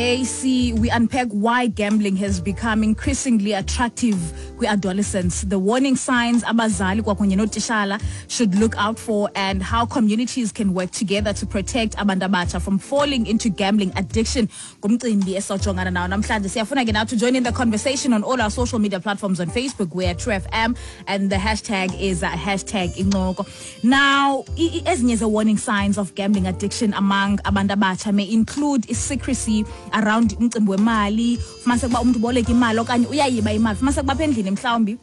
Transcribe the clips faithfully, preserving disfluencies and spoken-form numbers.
A C, we unpack why gambling has become increasingly attractive kwi-adolescents, the warning signs abazali kwakunye nootishala should look out for, and how communities can work together to protect abantu abatsha from falling into gambling addiction. Ngumcimbi esawujongana nawo namhlanje. Siyafuna ke now to join in the conversation on all our social media platforms. On Facebook, we're at True F M, and the hashtag is uh, hashtag Incoko. Now, i- i- ezinye ze-warning signs of gambling addiction among abantu abatsha may include secrecy around umcimbi wemali. Fumaniseka uba umntu uboleka imali okanye uyayiba imali. Fumaniseka uba apha endlini mhlawumbi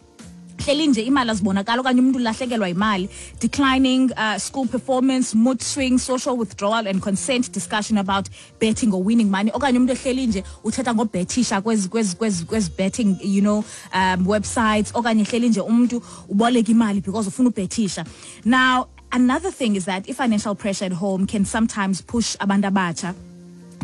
hleli nje imali azibonakala okanye umuntu ulahlekelwa yimali. Declining uh, school performance, mood swings, social withdrawal and consent discussion about betting or winning money, okanye umuntu ehleli nje uthetha ngobhethisha kwezi kwezi kwezi kwezi betting you know um, websites, okanye ehleli nje umuntu uboleka imali because ufuna ubhethisha. Now, another thing is that if financial pressure at home can sometimes push abantu abatsha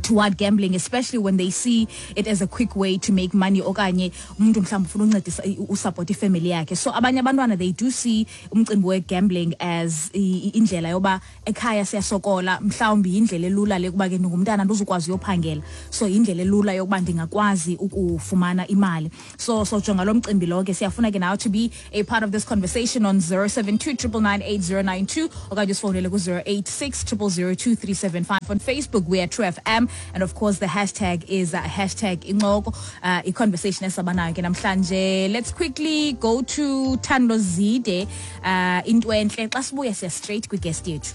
toward gambling, especially when they see it as a quick way to make money, okanye umuntu mhlawumbi ufuna uncedisa usupport ifamily yakhe. So abanye abantwana, they do see umcimbi we-gambling as i- i- indlela yoba ekhaya siyasokola, mhlawumbi yindlela elula le kuba ke ndingumntana, ndizukwazi uyophangela, so yindlela elula yokuba ndingakwazi ukufumana imali. So so jonga lo mcimbi lo ke. Siyafuna ke now to be a part of this conversation on zero seven two nine nine nine eight zero nine two okanye usifowunele ku-zero eight six zero zero zero two three seven five. On Facebook, we are True F M, and of course the hashtag is uh, hashtag Incoko. uh, i-conversation esabanayo ke namhlanje. Let's quickly go to Thando Zide, uh, into entle. Xa sibuya siya straight kwiguest yethu.